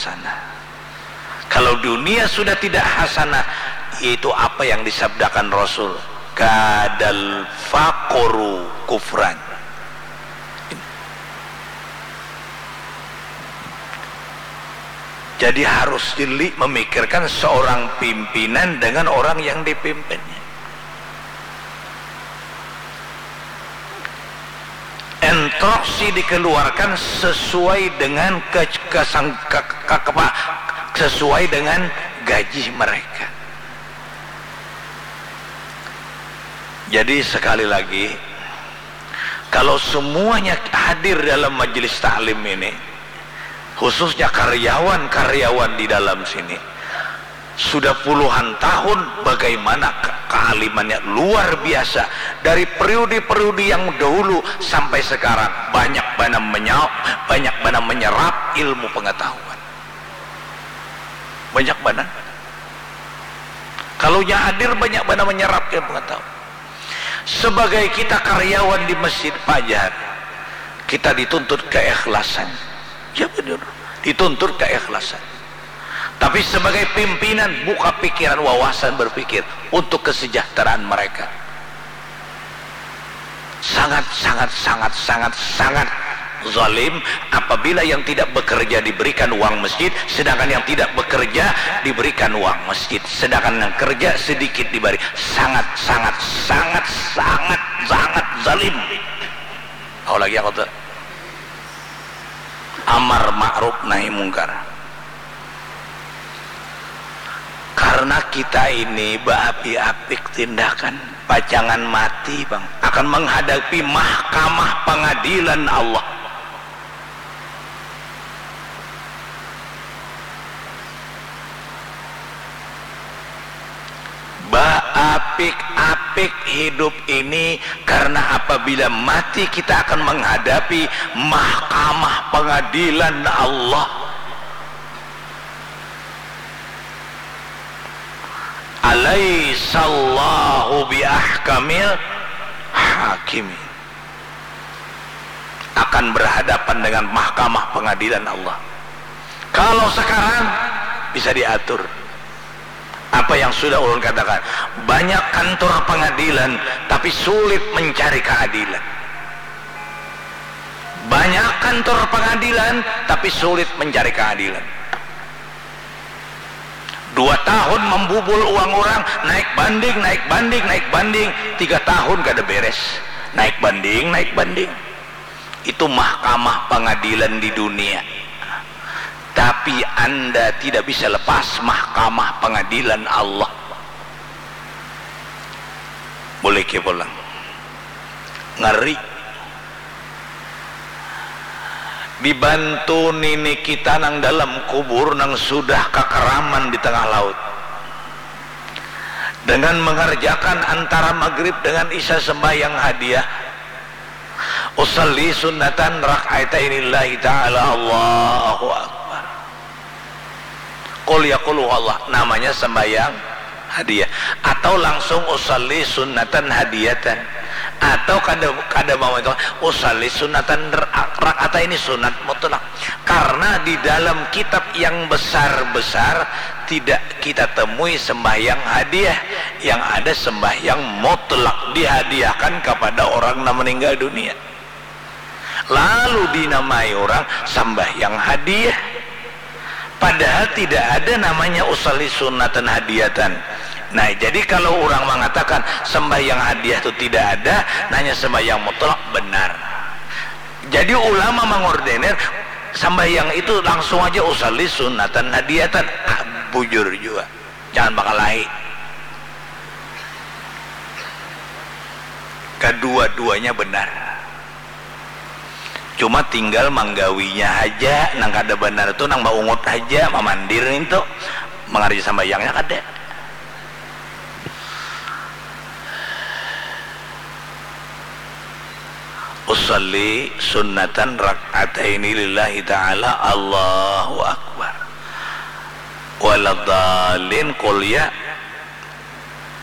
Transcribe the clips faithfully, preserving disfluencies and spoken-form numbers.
hasanah. Kalau dunia sudah tidak hasanah, yaitu apa yang disabdakan Rasul, kadal faqru kufran. Jadi harus jeli memikirkan seorang pimpinan dengan orang yang dipimpinnya. Instruksi dikeluarkan sesuai dengan ke, kesang, ke, ke, apa, sesuai dengan gaji mereka. Jadi sekali lagi, kalau semuanya hadir dalam majelis taklim ini, khususnya karyawan-karyawan di dalam sini, sudah puluhan tahun bagaimana ke-, kealimannya luar biasa. Dari periode-periode yang dahulu sampai sekarang, banyak bana menyau-, banyak bana menyerap ilmu pengetahuan. Banyak bana. Kalau nya hadir, banyak bana menyerap ilmu pengetahuan. Sebagai kita karyawan di Masjid Fajar, kita dituntut keikhlasan. Ya benar, dituntut keikhlasan. Tapi sebagai pimpinan, buka pikiran, wawasan berpikir untuk kesejahteraan mereka. Sangat, sangat, sangat, sangat, sangat zalim apabila yang tidak bekerja diberikan uang masjid, sedangkan yang tidak bekerja diberikan uang masjid, sedangkan yang kerja sedikit diberi. Sangat, sangat, sangat, sangat, sangat zalim. Tahu lagi aku tuh. Amar ma'ruf nahi mungkar. Karena kita ini beapi-apik tindakan, pacangan mati, Bang, akan menghadapi mahkamah pengadilan Allah. Baapik-apik hidup ini, karena apabila mati kita akan menghadapi mahkamah pengadilan Allah. Alaisallahu biahkamil hakimin. Akan berhadapan dengan mahkamah pengadilan Allah. Kalau sekarang bisa diatur. Apa yang sudah ulun katakan, banyak kantor pengadilan tapi sulit mencari keadilan. Banyak kantor pengadilan tapi sulit mencari keadilan. Dua tahun membubul uang orang, naik banding, naik banding, naik banding, tiga tahun kada beres. Naik banding, naik banding. Itu mahkamah pengadilan di dunia. Tapi Anda tidak bisa lepas mahkamah pengadilan Allah. Boleh ke pulang. Ngeri. Dibantu nini kita nang dalam kubur nang sudah kakaraman di tengah laut. Dengan mengerjakan antara maghrib dengan isya sembahyang hadiah. Usalli sunnatan rak'ataini lillahi ta'ala, Allahu Akbar. Qul ya qul huwallah, namanya sembahyang hadiah. Atau langsung usalli sunnatan hadiyatan. Atau kada, kada mau itu, usalli sunnatan ra-, rak'ataini, sunat mutlak. Karena di dalam kitab yang besar-besar tidak kita temui sembahyang hadiah. Yang ada sembahyang mutlak dihadiahkan kepada orang nang meninggal dunia. Lalu dinamai orang sambahyang hadiah. Padahal tidak ada namanya usalli sunnatan hadiyatan. Nah, jadi kalau orang mengatakan sambahyang hadiah itu tidak ada, nanya sambahyang mutlak, benar. Jadi ulama mengordenir sambahyang itu langsung aja usalli sunnatan hadiyatan. Ah, bujur juga. Jangan bakalahi. Kedua-duanya benar. Cuma tinggal manggawinya haja, nang kada banar tu nang baungut haja, mamandir nintu, mangarja sambayangnya kada. Usalli sunnatan rak'ataini lillahi ta'ala, Allahu Akbar. Waladhdallin, qul ya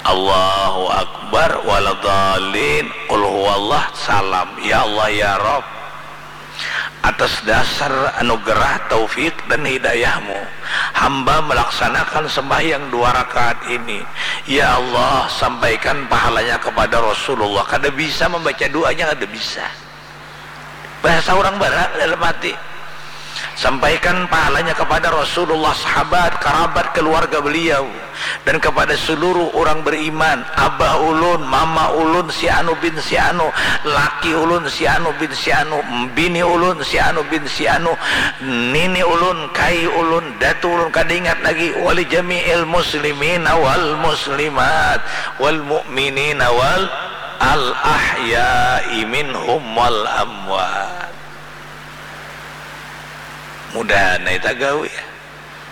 Allahu Akbar, waladhdallin, qul huwallah, salam, ya Allah, ya Rabb. Atas dasar anugerah, taufik, dan hidayah-Mu, hamba melaksanakan sembahyang dua rakaat ini. Ya Allah, sampaikan pahalanya kepada Rasulullah. Kada bisa membaca doanya, kada bisa. Bahasa urang bara dalam hati. Sampaikan pahalanya kepada Rasulullah, sahabat, karabat, keluarga beliau, dan kepada seluruh urang beriman, abah ulun, mama ulun, si anu bin si anu, laki ulun, si anu bin si anu, bini ulun, si anu bin si anu, nini ulun, kai ulun, datu ulun, kada ingat lagi, wali jami'il muslimina wal muslimat, wal mu'minina wal al ahya'i minhum wal amwat. Mudahan ai tagawi.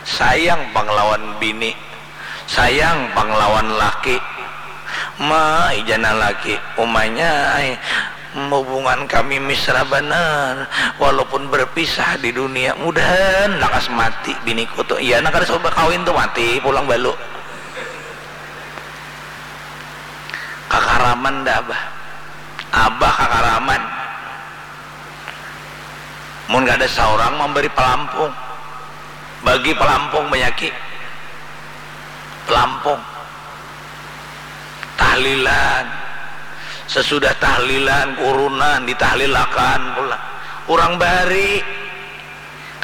Sayang pang lawan bini, sayang pang lawan laki. Ma, ijana laki, umanya ai, hubungan kami mesra banar, walaupun berpisah di dunia. Mudahan lakas mati biniku tu. Iya, nang kada suah bakawin tu mati pulang balu. Kakaraman dah abah. Abah kakaraman. Mun kada saurang mambari palampung, bagi palampung banyaki, palampung, tahlilan, sesudah tahlilan kurunan ditahlilakan pulang. Urang bahari,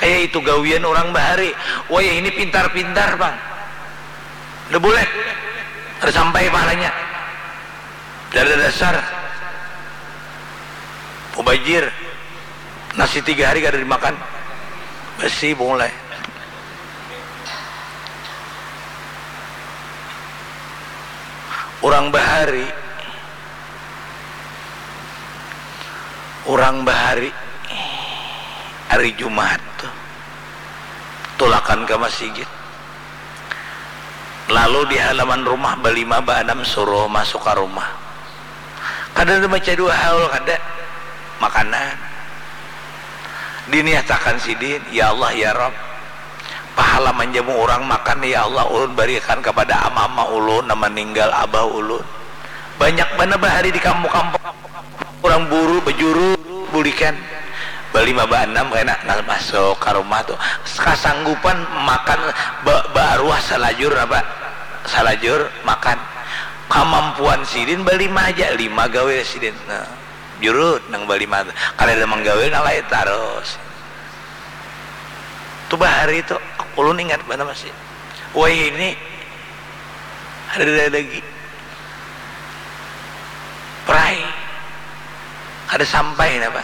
kaya itu gawian urang bahari. Wayah ini pintar-pintar pang, nda buleh, kada sampai pahalanya. Kada dasar. Mubajir. Nasi tiga hari kada dimakan. Basi mulai. Urang bahari. Urang bahari. Hari Jumat tu. Tulakan ka masigit. Lalu di halaman rumah balima baanam suruh masuk ka rumah. Kada ada baca dua haul kada. Makanan. Diniatakan sidin, ya Allah ya Rabb. Pahala manjamu urang makan ya Allah ulun barikan kapada ama-ama ulun nang maninggal abah ulun. Banyak banar bahari di kampung-kampung. Urang buru bajuru bulikan. Balima baanam kena nah masuk ka rumah tu. Kasanggupan makan ba baaruah salajur apa? Salajur makan. Kamampuan sidin balima haja, lima gawil sidin. Nah, jurut nang balima tu. Kadada manggawil nang lain tarus. Tu bahari tu ulun ingat banar masih. Wayah ini kadada lagi. Prai. Kada sampai napa.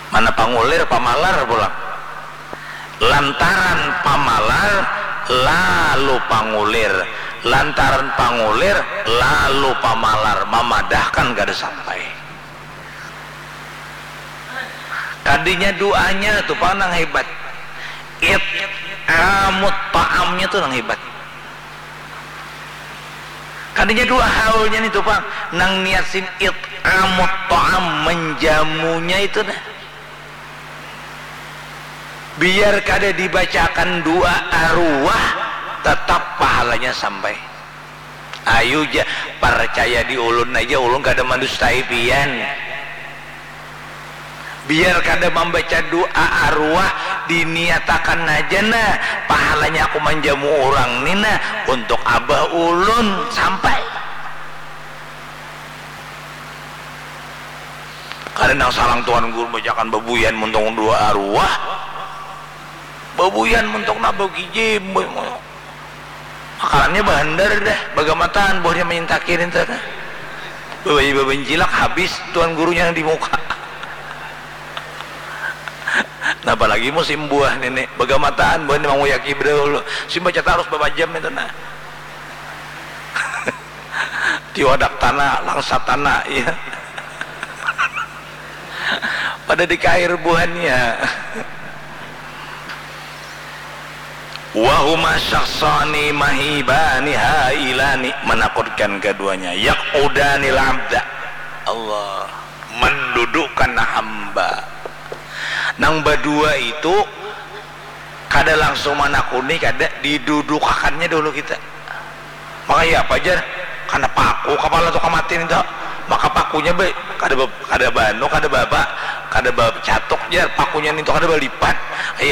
Mana pangulir pamalar pulang. Lantaran pamalar lalu pangulir. Lantaran pangulir lalu pamalar mamadahkan kada sampai. Kadinya duanya tu pang nang hebat. It'amut ta'amnya tu nang hebat. Kadinya dua haulnya ni tu pang. Nang niat sin it'amut ta'am, menjamunya itu nah. Biar kada dibacakan dua aruah, tetap pahalanya sampai. Ayu ja, parcaya di ulun aja, ulun kada mandustai pian. Biar kada mambaca dua aruah, diniatakan haja nah, pahalanya aku manjamu urang ni nah, untuk abah ulun sampai. Kada nang salang tuan guru bacakan babuyan muntung dua aruah, babuyan muntung nabau gijim. Makanannya bahandar dah, bagamataan buahnya manyintaki nintu nah. Babayi babancilak habis tuan gurunya nang di muka. Nah, apalagi musim buah nini, bagamataan buahnya manguyaki bedahulu. Simbaca tarus babajam itu nah. Tiwadak tanah, langsat tanah, iya. Pada dikair buhannya. Wahuma syakhsani mahibani hailani, menakutkan keduanya. Yaq'udanil abda. Allah mendudukkan hamba. Nang badua itu kada langsung manakuni, kada, didudukakannya dahulu kita. Maka ya apa jar? Kana paku kapala tu kamatin itu. Maka pakunya be, kada be, kada banu, kada baba, kada bacatuk jar, pakunya nintu kada balipat. Iya,